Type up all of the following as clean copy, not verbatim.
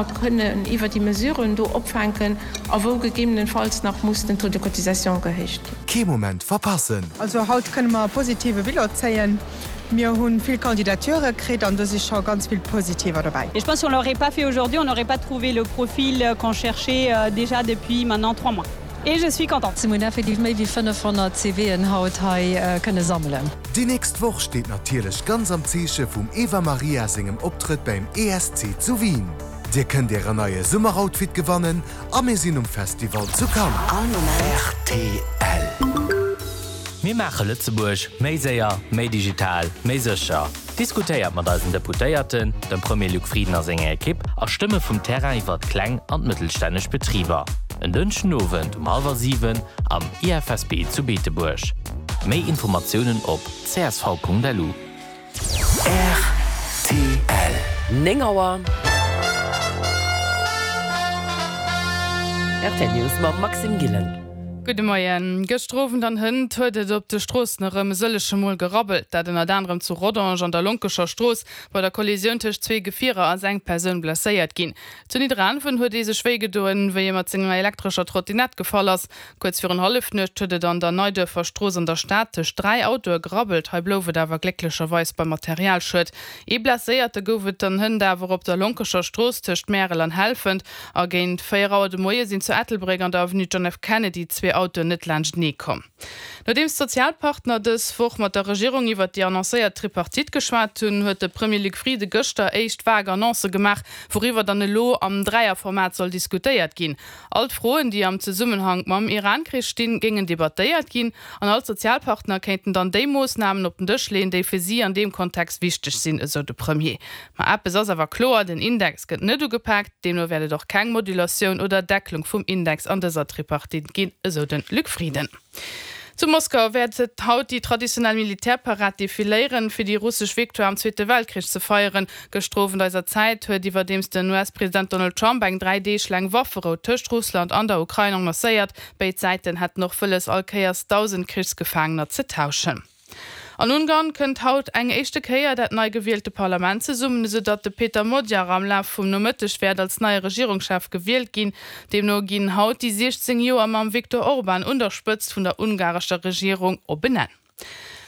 Kënnen iwwer déi Mesuren do opfänken a wou gegebenenfalls nach muss den Taux de cotisation gehéicht ginn. Kee Moment verpassen! Also haut kënne mer e positive Bilan zéien. Mir hu vill Candidature kritt an do si scho ganz vill positiver dobäi. Et je pense si on l'aurait pas fait aujourd'hui, on n'aurait pas trouvé le profil qu'on cherchait déjà depuis maintenant 3 mois. Et je suis contente. Mir hunn effektiv méi wéi 500 CVen haut hei kënne sammelen. Déi nächst Woch steet natierlech ganz am Zeeche vum Eva Marija sengem Optrëtt bäim ESC zu Wien. Dir kënnt ären neie Summeroutfit gewannen a mir sinn um Festival zu Cannes. Rtl. Mir maache Lëtzebuerg méi séier, méi digital, méi sécher. Diskutéiert mat eisen Deputéierten, dem Premier Luc Frieden a senger Ekipp a Stëmme vum Terrain iwwert kleng an mëttelstänneg Betriber. En Dënschden Owend um hallwer 7 am IFSB zu Beetebuerg. Méi Informatiounen op csv.lu. Rtl. 9 Auer. Rtl News mam Maxime Gillen. Gudde Moien. Gëschter Owend an hënt huet et op de Stroossen erëm e sëllege Mol gerabbelt. Dat ënnert anerem zu Rodange an der Lonkescher Strooss. Bei der Kollisioun tëscht zwee Gefierer ass eng Persoun blesséiert ginn. Zu Nidderaanwen huet ee sech wéi gedoen, wéi e mat senger elektrescher Trottinett gefall ass. Kuerz virun Hallefnuecht huet et an der Neiduerfer Strooss an der Stad tëscht 3 Autoe gerabbelt. Hei blouf et awer glécklecherweis beim Materialschued. Ee Blesséierte gouf et dann hënt awer op der Lonkescher Strooss tëscht Märel an Helfent. A géint 4 Auer de Moie sinn zu Ettelbréck an der Avenue John F. Kennedy zwee Autoen net laanschtenee komm. Nodeems d'Sozialpartner dës Woch mat der Regierung iwwert déi annoncéiert Tripartite geschwat hunn, huet de Premier Luc Frieden gëschter éischt vag Annoncë gemaach, wouriwwer dann elo am Dräierformat soll diskutéiert ginn. All d'Froen, déi am Zesummenhank mam Iran-Krich stinn, géingen debattéiert ginn an all d'Sozialpartner kéinten dann déi Moossnamen op den Dësch leeën, déi fir si an deem Kontext wichteg sinn, esou de Premier. Ma eppes ass awer kloer, den Index gëtt net ugepaakt, deemno wäert et och keng Modulatioun oder Deckelung vum Index an dëser Tripartite ginn, esou de Luc Frieden. Zu Moskau wäert et haut déi traditionell Militärparad defiléieren, fir déi russesch Victoire am Zweete Weltkrich ze feieren. Gëschter Owend eiser Zäit huet iwwerdeems den US-President Donald Trump eng 3 Deeg laang Wafferou tëscht Russland an der Ukrain annoncéiert. Béid Säiten hätten och wëlles, all Kéiers 1.000 Krichsgefaangener ze tauschen. An Ungarn kënnt haut eng éischte Kéier dat nei gewielte Parlament zesummen, esou datt de Peter Magyar am Laf vum Nomëtteg wäert als neie Regierungschef gewielt ginn. Deemno ginn haut déi 16 Joer mam Viktor Orban un der Spëtzt vun der ungarescher Regierung op en Enn.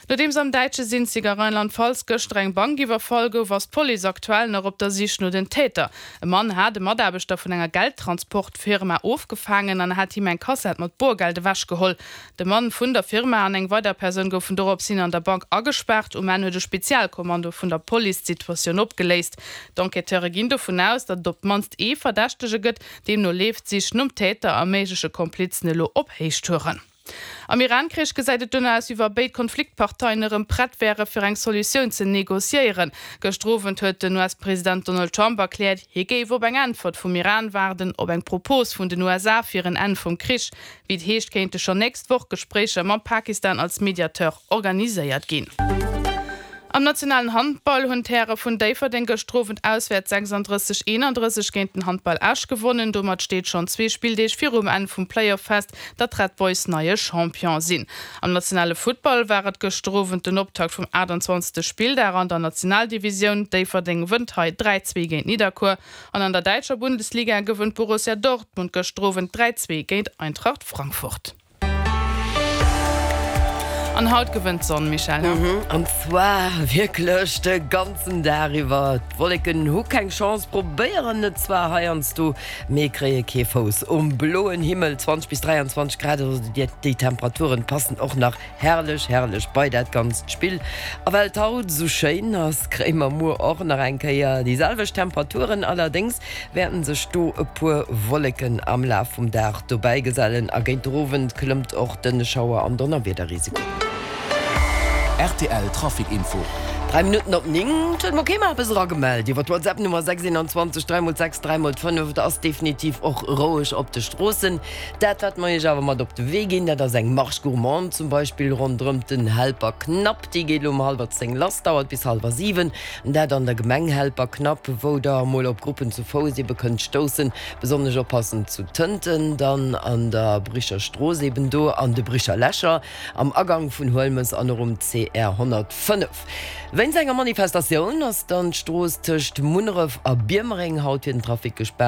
Nodeems am däitsche Sinzig a Rheinland-Pfalz gëschter eng Bank iwwerfall gouf, ass d'Police aktuell nach op der Sich no den Täter. E Mann hat e Mataarbechter vun enger Geldtransportfirma ofgefaangen an hat him eng Kassett mat Borgeld ewechgeholl. De Mann vun der Firma an eng weider Persoun goufen dorops hin an der Bank agespaart. Um Enn huet e Spezialkommando vun der Police d'Situatioun opgeléist. D'Enquêteure ginn dovun aus, datt et op d'mannst ee Verdächtege gëtt. Deemno leeft d'Sich nom Täter a méigleche Komplizen elo op Héichtouren. Am Iran-Krich gesäit et dono aus, wéi wa béid Konfliktparteien erëm prett wäre fir eng Solutioun ze negociéieren. Gëschter Owend huet den US-President Donald Trump erkläert, hie géif op eng Äntwert vum Iran waarden, op eng Propos vun den USA fir en Enn vum Krich. Wéi et heescht, kéinte schonn nächst Woch Gespréicher mam Pakistan als Mediateur organiséiert ginn. Am nationalen Handball hunn d'Häre vun Déifferdeng gëschter Owend auswäerts 36, 31 géint den Handball Esch gewonnen. Domat steet schonn zwee Spilldeeg virum Enn vum Playoff fest, datt d'Red Boys neie Champion sinn. Am nationale Futtball war et gëschter Owend den Optakt vum 28. Spilldag an der Nationaldivisioun. Déifferdeng wënnt hei 3, 2 géint Nidderkuer. An an der däitscher Bundesliga gewënnt Borussia Dortmund gëschter Owend 3, 2 géint Eintracht Frankfurt. An haut gewënnt d'Sonn, Michèle, he? An zwar wierklech de ganzen Dag iwwer. D'Wolleken hu keng Chance, probéieren et zwar heiansdo, mee kréie kee Fouss um bloen Himmel. 20 bis 23 Grad, also déi Temperaturen passen och nach Herrlech, herrlech bei dat ganzt Spill. A well et haut esou schéin ass, kréie mer muer och nach eng Kéier déi selwecht Temperaturen. Allerdéngs wäerten sech do e puer Wolleken am Laf vum Dag dobäi gesellen a géint de Owend klëmmt och de Schauer an Donnerwiederrisiko. Rtl Trafic Info. 3 Minutten op 9, et huet mer kee mer eppes eragemellt iwwer d'WhatsApp Nummer 6 21 3 x 6 3 x 5. Et ass definitiv och roueg op de Stroossen. Dat wat mer iech awer mat op de Wee ginn, dat ass eng Marche gourmande zum Beispill ronderëm den Helperknapp. Déi geet elo um hallwer 10 lass, dauert bis hallwer 7. Dat an der Gemeng Helperknapp, wou der emol op Gruppen zu Fouss ebe kënnt stoussen. Besonnesch oppassen zu Tënten, dann an der Bricher Strooss eben do an de Bricher Lächer, am Agang vun Huelmes an och um CR 105. Wéinst enger Manifestatioun ass dann d'Strooss tëscht Munneref a Biermereng haut fir den Trafic gespaart.